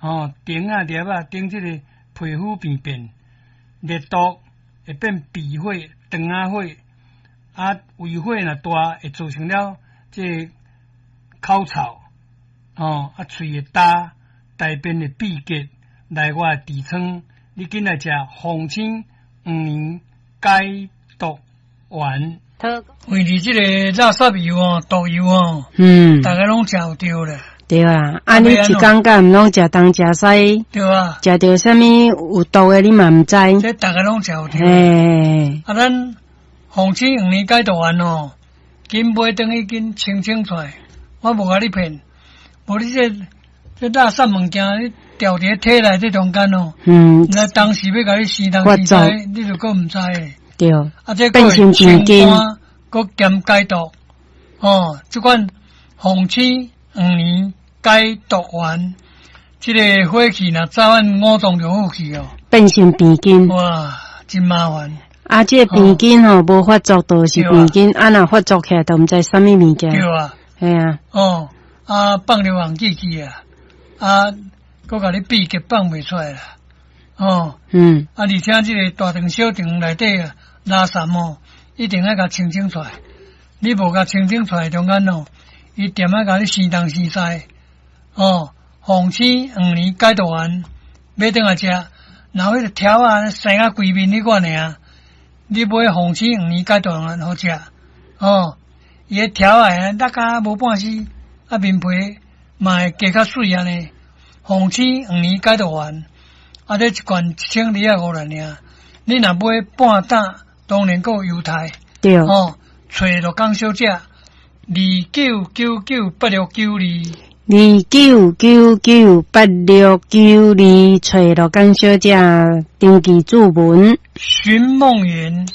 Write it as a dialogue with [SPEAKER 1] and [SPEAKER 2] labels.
[SPEAKER 1] 吼，腸仔粒仔頂這个皮膚病變，熱毒會變鼻火、腸仔火，啊，胃火若大會造成了這个口臭，吼，啊，喙會焦，大便會秘結，內外痔瘡，你緊來食鳳仙黃連解毒丸。
[SPEAKER 2] 為佇這個垃圾油哦，毒油哦，逐家攏食有著咧。
[SPEAKER 3] 對啊，啊你一工敢毋攏食東食西，
[SPEAKER 2] 對啊，
[SPEAKER 3] 食著啥物有毒的你嘛毋知。
[SPEAKER 2] 這逐家攏食有著。
[SPEAKER 3] 嘿，
[SPEAKER 2] 啊，咱鳳仙黃連解毒丸哦，緊買轉去緊清清出來，我無共你騙，無你這這垃圾物件，你掉佇體內這中間哦，那當時欲共你生東生西，你就閣毋知的。
[SPEAKER 3] 對，
[SPEAKER 2] 啊，這
[SPEAKER 3] 變成
[SPEAKER 2] 清肝，閣兼解毒，哦，這款鳳仙黃連解毒丸，這个火氣若早晚五臟六腑去哦，
[SPEAKER 3] 變成病菌。
[SPEAKER 2] 哇，真麻煩。
[SPEAKER 3] 啊，這个病菌吼無發作就是病菌，啊，若發作起來，就毋知啥物物件。
[SPEAKER 2] 對啊。
[SPEAKER 3] 嘿啊。
[SPEAKER 2] 哦，啊，放尿紅記去啊，啊，閣共你秘結放袂出來啦。哦。啊，而且這个大腸小腸內底啊，垃圾哦，一定愛共清清出來。你無共清清出來中間哦，伊恬仔共你生東生西。哦，鳳仙黃連解毒丸買轉來食，然後彼个條仔生甲規面彼款爾，你買鳳仙黃連解毒丸予食。哦，伊个條仔落甲無半絲，啊面皮嘛會加較媠按呢。鳳仙黃連解毒丸，啊，這一罐1250爾，你若買半擔，當然閣有優待。
[SPEAKER 3] 對。
[SPEAKER 2] 哦，揣陸江小姐，29998692。
[SPEAKER 3] 29998692，揣陸江小姐登記注文。
[SPEAKER 2] 尋夢園。